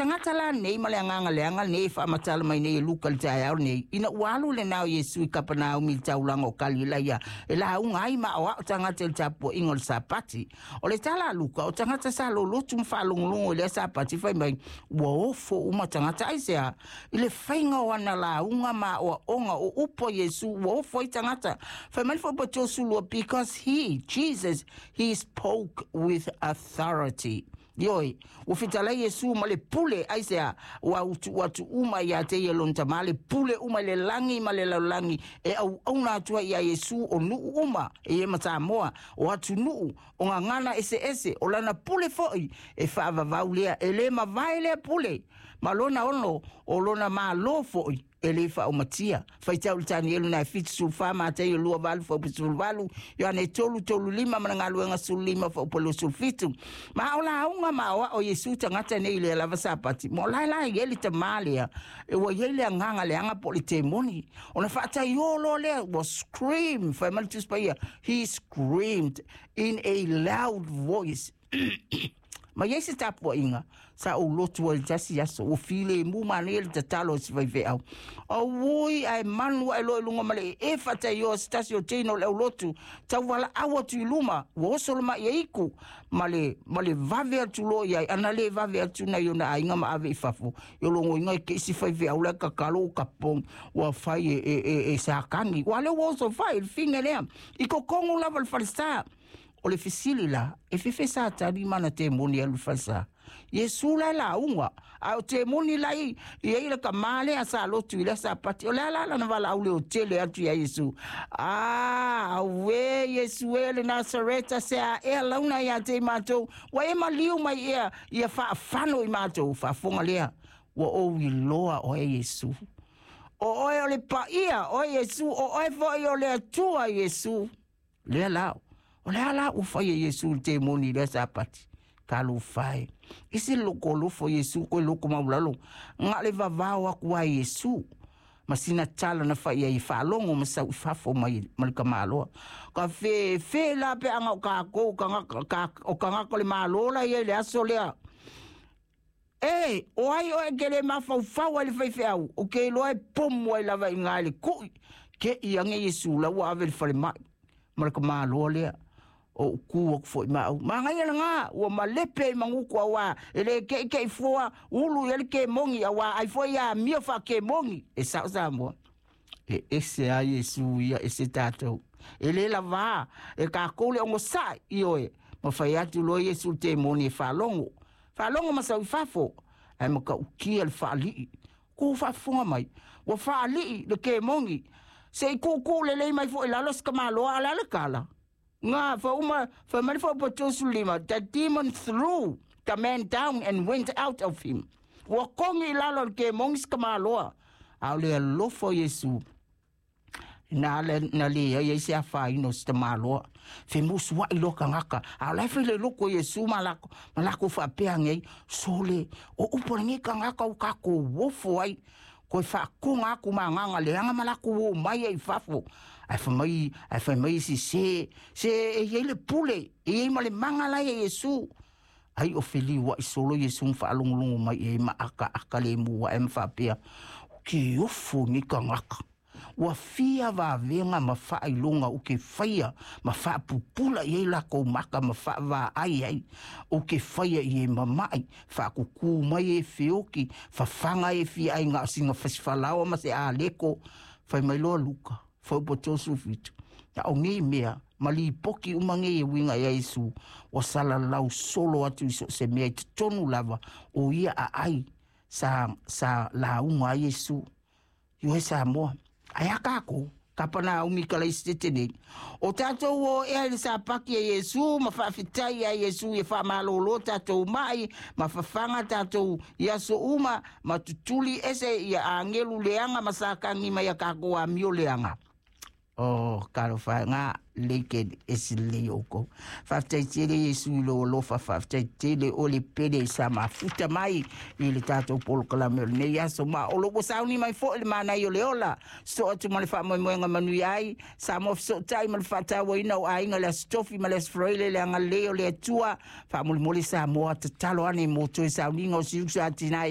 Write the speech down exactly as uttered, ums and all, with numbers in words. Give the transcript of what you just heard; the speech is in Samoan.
tagata la nei ma le agaga leaga nei e faamatala mai nei e Luka i le taeao lenei, ina ua alu lenā o Iesu i Kapanaumi i le taulaga o Kalilaia e lauga ai ma aoao tagata i le tapuaiga o le Sapati. O le tala a Luka, o tagata sa lolotu ma faalogologo i lea Sapati fai mai, ua ofo uma tagata aisea i le faiga o ana lauga ma aoaoga o upu a Iesu ua ofo ai tagata. Fai mai le fuaiupu tolusefulu lua, because he, Jesus, he spoke with authority. Ioe, ua fetalai Iesu ma le pule, aisea, ua utuʻu atu uma iā te ia lona Tamā le pule uma i le lagi ma le lalolagi e auauna atu ai iā Iesu o nuu uma e i ai ma Samoa, o atunuu, o gagana eseese, o lana pule foʻi e faavavau lea, e lē mavae lea pule, ma lona ono, o lona Mālō foʻi e lē faaumatia. Faitau i le Tanielu na e fitusefulu fa, Mataio lua valu fuaiupu sefulu valu, Ioane tolu tolu lima ma le Galuega sefulu lima fuaiupu luasefulu fitu. Ma o lauga ma aoao Iesu tagata nei i lea lava Sapati, ma o lae la e i ai le tamā lea e ua i ai le agaga leaga po o le temoni. Ona faataiō loa lea, ua scream, fai mai le Tusi Paia, he screamed in a loud voice. Ma i ai se tapuaiga sa ou lotu ai i le tasi aso, ua filemu manaia le tatalo a si faifeau. Auoi, ae manu ae loa i luga ma le ee faataioa se tasi o teina o le aulotu, tauvalaau atu i luma, ua oso le maʻi aiku, ma le, ma le vave atu loa i ai, ana lē vave atu nai ona aiga ma ave i fafo, i o logoina e ke isi faifeau la e kakalo o kapong, ua fai e, e, e, e Satani. Ua lea ua oso fai le figa lea, i kokogo lava le falesa. O le fesili la, e fefe Satani ma ana temoni e alu i le falesa? Iesu la e lauga, a o temoni la i i ai le kamā lea sa lotu i lea Sapati. O le a la lana valaau leotele atu iā Iesu? A, auē Iesu e le Nasareta, se a ea launa iā te i matou, ua e maliu mai ea ia faafano i matou. Faafofoga lea, ua ou iloa oe Iesu. O oe o le paia, oe Iesu, o oe foʻi o le Atua Iesu. Lea la, o le a la ua fai e Iesu i le temoni i lea Sapati? Talofa e! Ese le loko alofa o Iesu koe loko maulalo, ga le vavao aku a Iesu. Ma sina tala na fai ai e faalogo ma sau i fafo mai ma le tamaloa. Ka fefe la peaga o kākou tagata, ka, o tagata o le Malo la ia i le aso lea. E, o ai oe e ke lē mafaufau ai le faifeau, o ke iloa e pomu ai lava iga i le kuʻi, ke i age Iesu la ua ave i le falemai ma le tamaloa lea. O ou kū aku foʻi ma au. Manaia lagā, ua malepe ai maguku auā e lē keʻikeʻi fua ulu i ai le kemogi auā ai foʻi amio faakemogi e sao Samoa. E ese a Iesu ia ese tatou. E lē lavā e kākou le ogosaʻi, ioe, ma fai atu loa Iesu i le temoni e faalogo. Faalogo ma sau i fafo, ae mataʻukia le faalii. Kou faafofoga mai, ua faalii le kemogi, se i kuukuu lelei mai foʻi lalo se tamaloa a o le a le tala? Nga, fauma, fai mai le fuaiupu lima, the demon threw the man down and went out of him. Ua kogi i lalo e le kemogi se tamaloa, a o le alofa o Iesu, na le, na leai ai se afaina o se tamaloa. Femusuaʻi loa tagata, a o la e fai le loko o Iesu ma lako, ma lakou faapea age ai, sole, o upu a lenei tagata ua tatou ofo ai, Koe faakoga aku ma agaga leaga ma lakou o mai ai i fafo. Ae fai mai, ae fai mai isi, Se, se e i ai le pule, e i ai ma le maga la ia Iesu. Ai o feliuaʻi solo Iesu ma faalogologo mai i ai ma akaaka lemu aʻe ma faapea, O ke ofo nei tagata. Ua fia vavega ma faailoga o ke faia ma faapupula i ai lakou maka ma faavaai ai o ke faia i e mamaʻi, faakukū mai e feoki, fafaga e fia ai na o sina fasifalaoa ma se aleko. Fai mai loa Luka, fuaiupu tolusefulu fitu, na o nei mea ma lipoki uma nei e uiga iā Iesu, ua salalau solo atu i so o se mea i totonu lava o ia aai sa, sa lauga ai Iesu. Ioe Samoa. Ae a kākou, Kapanaumi Kalaisitete nei. O tātou o ea i le Sapaki a Iesu ma faafetai iā Iesu ia faamalōlō tātou maʻi ma fafaga tātou i aso uma ma tutuli ese ia agelu leaga ma sakagi mai a kākou amio leaga. Oh, talofa e ngā lei ke ese lelei o oukou. Faafetai tele Iesu i lou alofa, faafetai tele o le pele sa mafuta mai i le tatou polokalame o lenei aso. Ma o lo ua sauni mai foʻi le manaia o le ola, sosoo atu ma le faamoemoega manuia ai, Samoa fesootai ma le faatauaina o aiga le Aso Tofi ma le Aso Faraile le agalelei o le Atua. Faamolemole Samoa, tatalo ane mo toe sauniga o Siusa Atinae.